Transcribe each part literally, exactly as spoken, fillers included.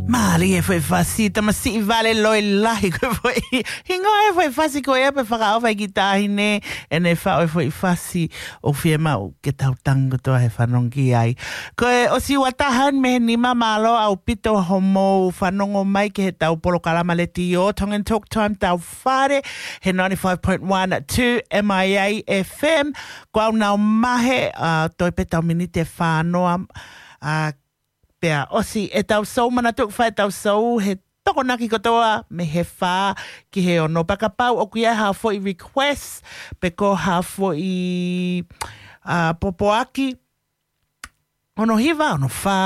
Mālie e foʻi fasi, tamasiʻi vale loi lahi ko e foʻi. Hingoa e foʻi fasi ko ia pea fakaʻofa ʻe he kiʻi taʻahine, ʻene faʻu e foʻi fasi ʻoku fiemaʻu ke tau tangi kotoa he fanongo ki ai. Ko e ʻosi ua taha eni mei he nima, mālō ʻaupito hoʻomou fanongo mai ki heʻetau polokalama letiō, Tongan Talk Time, tau fale, he ninety-five point one two M I A F M. Ko au Nau Mahe, ʻa, toe pē ʻetau miniti ʻe fā noa, ʻa, pea ʻosi ʻetau sou. Manatuʻi ʻoku fai ʻetau sou he Tokonaki kotoa mei he fā ki he ono. Pea kapau ʻoku ʻi ai ha foʻi request, pe ko ha foʻi, ʻa, pōpoaki, ono hiva, ono fā,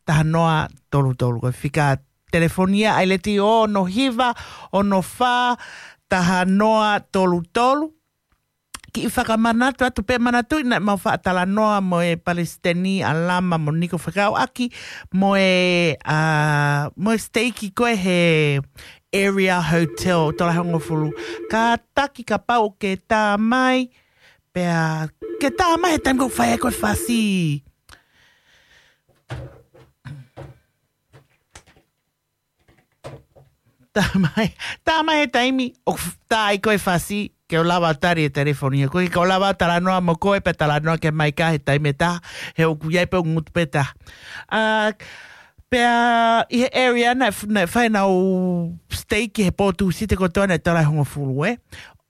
taha noa, tolu tolu. Ko e fika telefoni ia ʻa e letiō, ono hiva, ono fā, taha noa, tolu tolu. Kiʻi fakamanatu atu pē, manatuʻi naʻa mau faʻa talanoa mo e Palesiteni ʻAlama mo Niko fekauʻaki mo e, ʻa, mo e siteiki ko ē he Area Hotel, Tolahongofulu. Kātaki kapau ʻoku ke tā mai, pea ke tā mai he taimi ʻoku fai ai ko e fasi. Tā mai, tā mai he taimi ʻoku f-, tā ai ko e fasi, ke u lava tali e telefoni. Ko e ke u lava talanoa mo koe pea talanoa ki he maika he taimi ʻe taha, he ʻoku ʻi ai pē ʻeku ngutu pē taha. ʻA, pea ʻi he area naʻe f-, naʻe fai ʻenau siteiki he pō Tūsite kotoa naʻe Tolahongofulu, ē.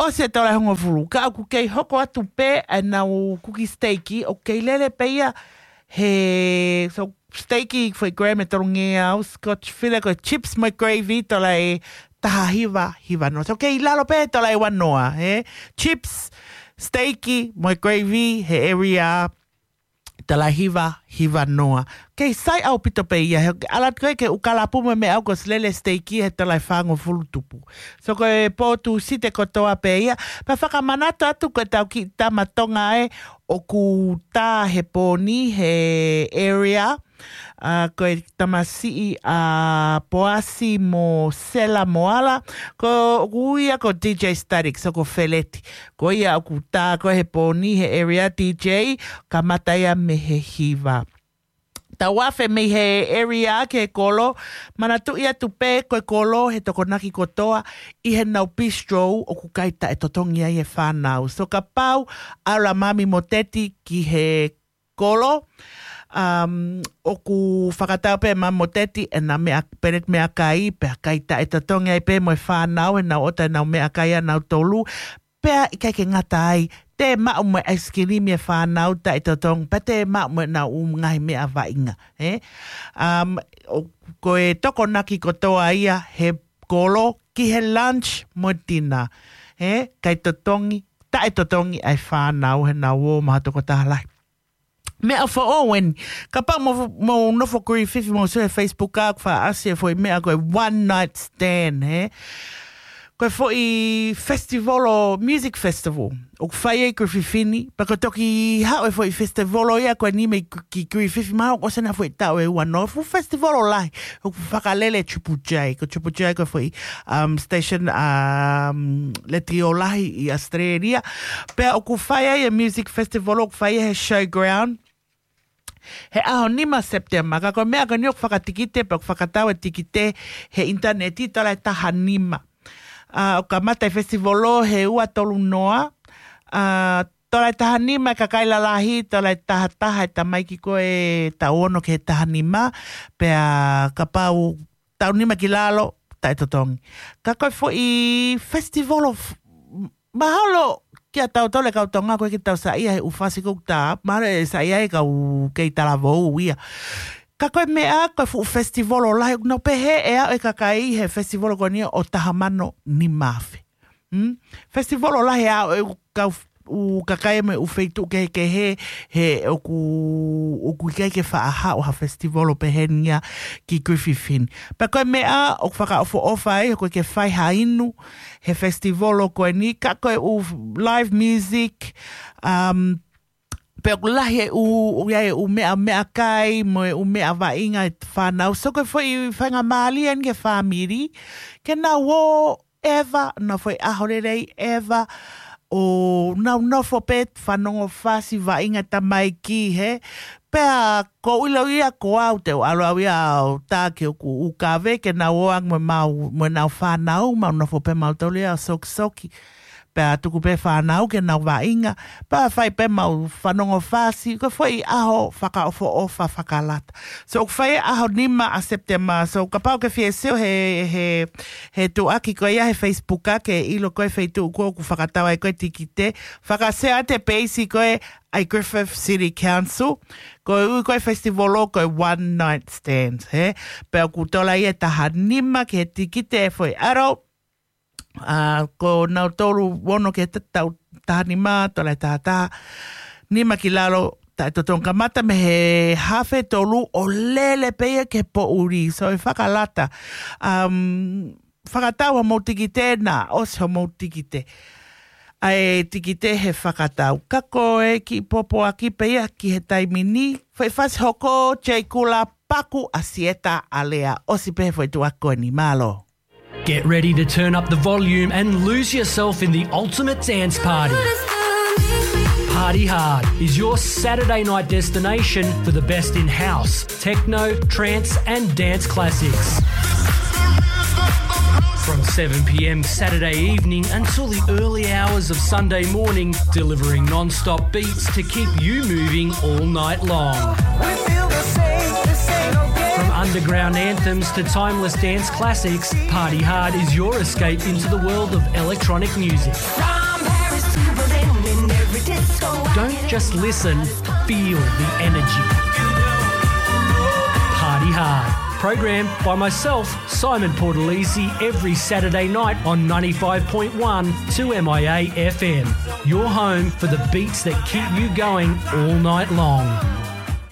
ʻOsi e Tolahongofulu, ka ʻoku kei hoko atu pē ʻenau kuki siteiki, ʻoku kei lele pē ia he, so, siteiki foʻi graham ʻe tolungeau, Scotch fillet ko e chips mo e gravy, tola ʻe taha hiva, hiva noa. So kei lalo pē tola ʻe ua noa, ē? Chips, siteiki mo e gravy he area, tola ʻe hiva, hiva noa. Kei sai ʻaupito pē ia, he ʻalu atu ko ē ke u kalapu mo e meʻa ʻoku ʻosi lele siteiki he tola ʻe fāngofulu tupu. So ko e pō Tūsite kotoa pē ia, pea fakamanatu atu ko ʻetau kiʻi tama Tonga ē, ʻoku tā he pō ni he area, ʻa, ko e tamasiʻi ʻa Poasi mo Sela Moala, ko ʻoku ui ia ko D J Static, so ko Feleti. Ko ia ʻoku tā ko ē he pō ni he area D J, kamata ia mei he hiva. Tau afe mei he area ki he kolo, manatuʻi atu pē ko e kolo he Tokonaki kotoa ʻi heʻenau bistro ʻoku kai taʻetotongi ai e fānau. So kapau ʻalu ʻa Mami mo Teti ki he kolo, um, ʻoku fakatau pē ʻe Mami mo Teti ʻenau meʻa, peleti meʻakai, pea kai taʻetotongi ai pē mo e fānau, heʻenau ʻota ʻenau meʻakai ʻa nautolu, pea ʻikai ke ngata ai, te maʻu mo e ʻaisikilimi e fānau taʻetotongi, pea te maʻu mo ʻenau ʻū ngaahi meʻa vaʻinga, ē? Um, ʻo, ko e Tokonaki kotoa ia he kolo ki he lunch mo e dinner, ē? Kai totongi, taʻetotongi ʻa e fānau heʻenau ō maʻa ha tokotaha lahi. Meʻa foʻou eni. Kapau mou, mou nofo Kirififi mou sio he Facebook ʻoku faʻa ʻasi e foʻi meʻa ko e one night stand, ē? Ko e foʻi festival ʻo, music festival ʻoku fai ai Kirififi ni, pea ko e toki haʻu e foʻi festival ia ko eni mei ki Kirififi, mahalo ʻosi ʻena foʻi taʻu ʻe ua noa, fuʻu festival lahi, ʻoku fakalele Triple J, ko Triple J ko e foʻi, um, station, um, letiō lahi ʻi Australia. Pea ʻoku fai ai e music festival, ʻoku fai ai he Showground he ʻaho nima September, ka ko e meʻa ko eni ʻoku fakatikite, pea ʻoku fakatau e tikite he ʻinitaneti, tola ʻe taha nima. ʻA, ʻoku kamata e festival he ua tolu noa, ʻa, tola ʻe taha nima e kakai lalahi, tola ʻe taha taha e tamaiki ko ē taʻu ono ki he taha nima, pea kapau taʻu nima ki lalo, taʻetotongi. Ka ko e foʻi festival of, mahalo kia tautolu e kau Tonga ʻoku ʻikai ke tau saiʻia he ʻū fasi ʻoku tā, mahalo ʻe saiʻia e kau kei talavou ia. Ka ko e meʻa, ko e fuʻu festival lahi, ʻoku nau pehē ʻe aʻu e kakai he festival ko eni ʻo taha mano nima afe. Hmm? Festival lahi ʻa e kau f-, ʻū kakai mei he ʻū feituʻu kehekehe, he ʻoku, ʻoku ʻikai ke faʻa haʻu ha festival pehē ni ia ki Kirififi ni. Pea ko e meʻa ʻoku fakaʻofoʻofa ai, ʻoku ʻikai ke fai ha inu he festival ko eni, ka ko e ʻū live music, um, pea ʻoku lahi e ʻū, ʻoku ʻi ai e ʻū meʻa, meʻakai, mo e ʻū meʻa vaʻinga e fānau. So ko e foʻi faingamālie eni ki he fāmili, ke nau ō ʻeva, nau foʻi ʻaho lelei ʻeva, ʻo nau nofo pē fanongo fasi, vaʻinga tamaiki, he, Pea ko u ʻilo ia ko au te u ʻalu au ia ʻo tā ki hoku ʻū kaveinga ke nau ō ange mo ʻemau, mo ʻenau fānau, mau nofo pē mautolu ia ʻo sokisoki. Pea tuku pē fānau ke nau vaʻinga. Pea fai pē mau fanongo fasi, ko e foʻi ʻaho fakaʻofoʻofa fakalata. So, ʻoku fai ʻaho nima ʻa September. So, kapau ʻoku ke fie sio he, he, he tuʻaki ko ia he Facebook ʻa ke ʻilo ko e feituʻu ko ē ʻoku fakatau ai ko e tikite. Fakashare atu e peisi ko ē ʻa e Griffith City Council. Ko e ui ko e festival ʻo ko e one night stand, he? Pea ʻoku tola ia ʻe taha nima ki he tikite ʻe foʻi ʻalu. ʻA, ko nautolu ono ki he ta-, tau taha nima, tola ʻe taha taha, nima ki lalo, taʻetotongi kamata mei he hafe tolu ʻo lele pē ia ki he poʻuli. So ʻe fakalata, um, fakatau hoʻomou tikite, naʻa ʻosi hoʻomou tikite. ʻA e tikite he fakatau. Ka ko e kiʻi pōpoaki pē ia ki he taimi ni, foʻi fasi hoko, Jay Kula, paku ʻa Sieta Alea, ʻosi pē he foʻi tuʻaki ko eni, mālō. Get ready to turn up the volume and lose yourself in the ultimate dance party. Party Hard is your Saturday night destination for the best in house, techno, trance, and dance classics. From seven p.m. Saturday evening until the early hours of Sunday morning, delivering non-stop beats to keep you moving all night long. We feel the same, the same, okay? From underground anthems to timeless dance classics, Party Hard is your escape into the world of electronic music. From Paris to Berlin, in every disco I Don't just listen, feel the energy. Party Hard. Programmed by myself, Simon Portalisi, every Saturday night on ninety-five point one two M I A F M. Your home for the beats that keep you going all night long.